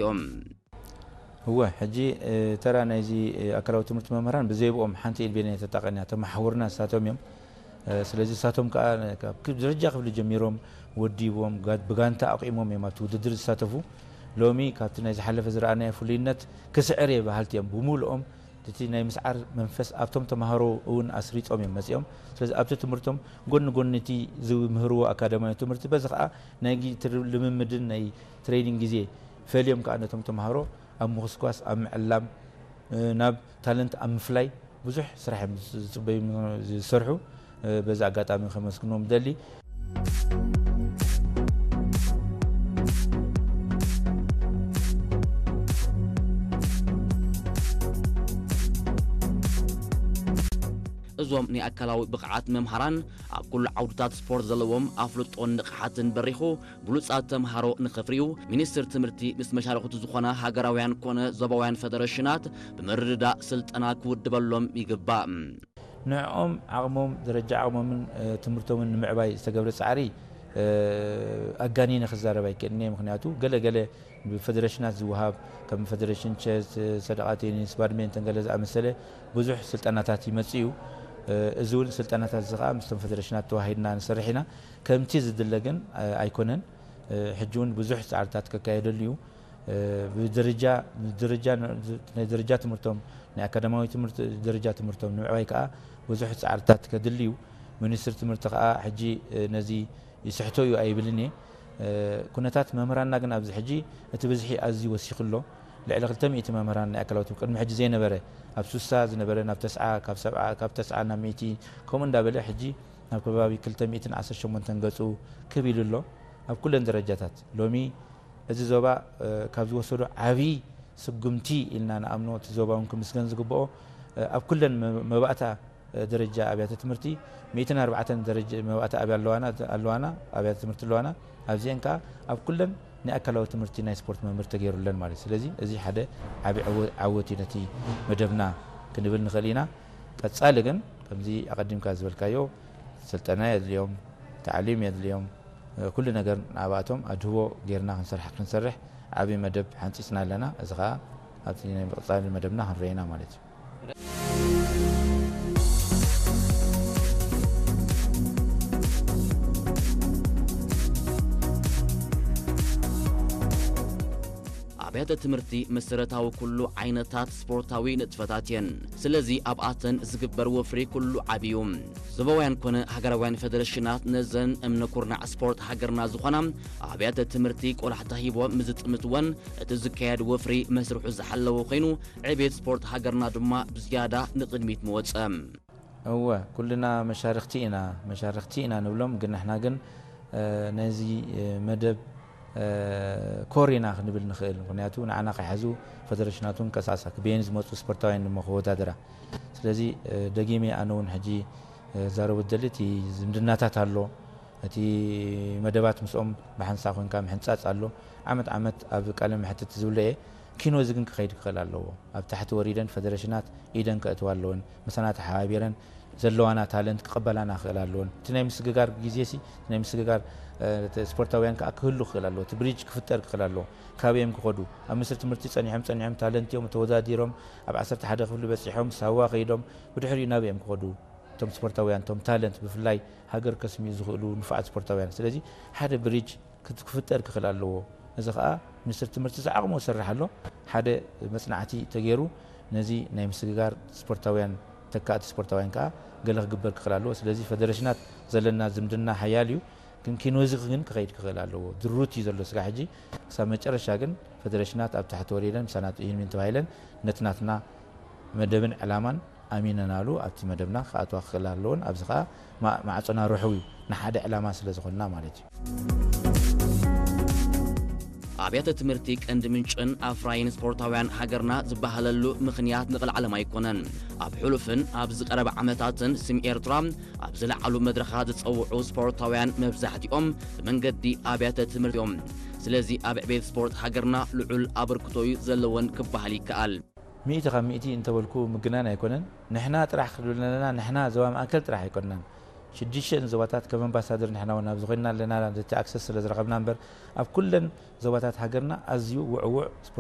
እዮም። እወ፣ ሕጂ ተራ ናይዚ ኣካላዊ ትምህርቲ መምህራን ብዘይብኦም ሓንቲ ኢልቤን እያ ተጣቐን እያ። ተመሓውርና ንሳቶም እዮም። ስለዚ ንሳቶም ከዓ ካብ ደረጃ ክፍሊ ጀሚሮም ወዲቦም ብጋንታ ኣቑሞም እዮም ኣብቲ ውድድር ዝሳተፉ። ሎሚ ካብቲ ናይ ዝሓለፈ ዝረኣናዮ ፍሉይነት ክስዕር እየ በሃልቲ እዮም። ብምሉኦም እቲ ናይ ምስዓር መንፈስ ኣብቶም ተምሃሮ እውን ኣስሪጾም እዮም መጺኦም። ስለዚ ኣብቲ ትምህርቶም ጎኒ ጎኒ እቲ ዝምህርዎ ኣካዳሚያዊ ትምህርቲ በዚ ከዓ ናይ ልምምድን ናይ ትሬኒንግ ግዜ ፈልዮም ከዓ ነቶም ተምሃሮ ኣብ ምኹስኳስ፣ ኣብ ምዕላም፣ ናብ ታለንት ኣብ ምፍላይ ብዙሕ ስራሕ እዮም ዝፅበዩ ዝሰርሑ። በዚ ኣጋጣሚ ከመስግኖም ደሊ። እዞም ናይ ኣካላዊ ብቕዓት መምሃራን ኣብ ኩሉ ዓውድታት ስፖርት ዘለዎም ኣፍልጦን ንቕሓትን በሪኹ ብሉጻት ተምሃሮ ንኸፍርዩ ሚኒስትር ትምህርቲ ምስ መሻርኽቱ ዝኾና ሃገራውያን ኮነ ዞባውያን ፈደረሽናት ብምርድዳእ ስልጠና ክውድበሎም ይግባእ። ንዕኦም ዓቕሞም ደረጃ ዓቕሞምን ትምህርቶምን ንምዕባይ ዝተገብረ ፃዕሪ ኣጋኒነ ክዛረብ ኣይክእልን እየ። ምክንያቱ ገለ ገለ ብፈደረሽናት ዝወሃብ ከም ፈደረሽን ቸስ፣ ሰደቓ ቴኒስ፣ ባድሜንተን ገለ ዝኣመሰለ ብዙሕ ስልጠናታት ይመጽእ እዩ። እዚ እውን ስልጠናታት እዚ ከዓ ምስቶም ፈደረሽናት ተዋሂድና ንሰርሕ ኢና። ከምቲ ዝድለ ግን ኣይኮነን። ሕጂ እውን ብዙሕ ፃዕርታት ከካየደሉ እዩ። ብደረጃ ደረጃ ናይ ደረጃ ትምህርቶም ናይ ኣካዳማዊ ትምህርቲ ደረጃ ትምህርቶም ንምዕባይ ከዓ ብዙሕ ፃዕርታት ከድሊ እዩ። ሚኒስትር ትምህርቲ ከዓ ሕጂ ነዚ ይስሕቶ እዩ ኣይብልን እየ። ኩነታት መምህራንና ግን ኣብዚ ሕጂ እቲ ብዝሒ ኣዝዩ ወሲኹ ኣሎ። ልዕሊ ክልተ ሚእቲ መምህራን ናይ ኣካላዊ ትምህርቲ ቅድሚ ሕጂ ዘይነበረ ኣብ ሱሳ ዝነበረ ናብ ተስዓ ካብ ሰብዓ ካብ ተስዓ ናብ ሚእቲ ከምኡ እንዳበለ ሕጂ ናብ ከባቢ ክልተ ሚእትን ዓሰርተ ሸሞንተን ገፁ ክብ ኢሉ ኣሎ። ኣብ ኩለን ደረጃታት ሎሚ እዚ ዞባ ካብ ዝወሰዶ ዓብዪ ስጉምቲ ኢልና ንኣምኖ እቲ ዞባ እውን ክምስገን ዝግብኦ ኣብ ኩለን መባእታ ደረጃ ኣብያተ ትምህርቲ ሚእትን ኣርባዕተን ደረጃ መባእታ ኣብያ ኣለዋና ኣለዋና ኣብያተ ትምህርቲ ኣለዋና ኣብዚአን ከዓ ኣብ ኩለን ናይ ኣካላዊ ትምህርቲ ናይ ስፖርት መምህር ተገይሩለን ማለት እዩ። ስለዚ እዚ ሓደ ዓቢ ዓወት እዩ ነቲ መደብና ክንብል ንኽእል ኢና። ቀጻሊ ግን ከምዚ ኣቐዲምካ ዝበልካዮ ስልጠና የድልዮም፣ ታዕሊም የድልዮም፣ ኩሉ ነገር ንኣባቶም ኣድህቦ ጌርና ክንሰርሕ ክንሰርሕ ዓቢ መደብ ሓንጺጽና ኣለና። እዚ ከዓ ኣብቲ ናይ ምቕጻል መደብና ክንረኢና ማለት እዩ። ኣብያተ ትምህርቲ መሰረታዊ ኩሉ ዓይነታት ስፖርታዊ ንጥፈታት እየን። ስለዚ ኣብኣተን ዝግበር ወፍሪ ኩሉ ዓብዩ። ዞባውያን ኮነ ሃገራውያን ፈደረሽናት ነዘን እምነ ኩርናዕ ስፖርት ሃገርና ዝኾና ኣብያተ ትምህርቲ ቆላሕታ ሂቦም ምዝጥምትወን እቲ ዝካየድ ወፍሪ መስርሑ ዝሓለወ ኮይኑ ዕቤት ስፖርት ሃገርና ድማ ብዝያዳ ንቕድሚት መወፀ። እወ ኩልና መሻርክቲ ኢና መሻርክቲ ኢና ንብሎም ግን ንሕና ግን ነዚ መደብ ኮር ኢና ክንብል ንኽእል ምክንያቱ ንዓና ከይሓዙ ፈደረሽናቱን ቀሳሳ ክበየን ዝመፁ ስፖርታውያን ድማ ክወዳደራ ስለዚ ደጊመ ኣነ እውን ሕጂ ዛረቡ ደሊ እቲ ዝምድናታት ኣሎ እቲ መደባት ምስኦም ብሓንሳ ኮንካ ምሕንፃፅ ኣሎ ዓመት ዓመት ኣብ ቃለ መሕትት ዝብለ እየ ኪኖ እዚ ግን ክኸይድ ክኽእል ኣለዎ ኣብ ታሕቲ ወሪደን ፈደረሽናት ኢደን ከእትዋ ኣለወን ምሳና ተሓባቢረን ዘለዋና ታለንት ክቕበላና ክኽእል ኣለወን እቲ ናይ ምስግጋር ግዜ ሲ ናይ ምስግጋር ስፖርታውያን ከዓ ክህሉ ክኽእል ኣለዎ እቲ ብሪጅ ክፍጠር ክኽእል ኣለዎ ካበዮም ክኸዱ ኣብ ምስሪ ትምህርቲ ፀኒሖም ፀኒሖም ታለንት እዮም ተወዳዲሮም ኣብ ዓሰርተ ሓደ ክፍሊ በፂሖም ሳዋ ከይዶም ብድሕሪኡ ናበዮም ክኸዱ እቶም ስፖርታውያን እቶም ታለንት ብፍላይ ሃገር ከስምዩ ዝኽእሉ ንፉዓት ስፖርታውያን ስለዚ ሓደ ብሪጅ ክፍጠር ክኽእል ኣለዎ። እዚ ከዓ ሚኒስትር ትምህርቲ ዝዓቕሞ ዝሰርሕ ኣሎ። ሓደ መፅናዕቲ ተገይሩ ነዚ ናይ ምስግጋር ስፖርታውያን ተካእቲ ስፖርታውያን ከዓ ገለ ክግበር ክኽእል ኣለዎ። ስለዚ ፈደረሽናት ዘለና ዝምድና ሓያል እዩ። ግን ኪኖዚ ግን ክኸይድ ክኽእል ኣለዎ። ድሩት እዩ ዘሎ ስጋ ሕጂ ክሳብ መጨረሻ ግን ፈደረሽናት ኣብ ታሕቲ ወሪደን ምሳና ጥዩን ምን ተባሂለን ነቲ ናትና መደብን ዕላማን ኣሚነናሉ ኣብቲ መደብና ክኣትዋ ክኽእላ ኣለዎን ኣብዚ ከዓ ማዕፆና ርሑው እዩ ንሓደ ዕላማ ስለ ዝኾንና ማለት እዩ። ኣብያተ ትምህርቲ ቀንዲ ምንጭን ኣፍራይን ስፖርታውያን ሃገርና ዝበሃለሉ ምኽንያት ንቕልዓለም ኣይኮነን። ኣብ ሕሉፍን ኣብ ዝቐረበ ዓመታትን ስም ኤርትራ ኣብ ዝለዓሉ መድረኻት ዝፀውዑ ስፖርታውያን መብዛሕትኦም ብመንገዲ ኣብያተ ትምህርቲ እዮም። ስለዚ ኣብ ዕቤት ስፖርት ሃገርና ልዑል ኣበርክቶ እዩ ዘለወን ክበሃል ይከኣል። ሚእቲ ካብ ሚእቲ እንተበልኩ ምግናን ኣይኮነን። ንሕና ጥራሕ ክብል ኣለና፣ ንሕና ዞባ ማእከል ጥራሕ ኣይኮንናን። ሽዱሽተን ዞባታት ከም ኣምባሳደር ንሕና እውን ኣብዚ ኮይንና ኣለና፣ ነቲ ኣክሰስ ስለ ዝረኸብና እምበር፣ ኣብ ኩለን ዞባታት ሃገርና ኣዝዩ ውዕውዕ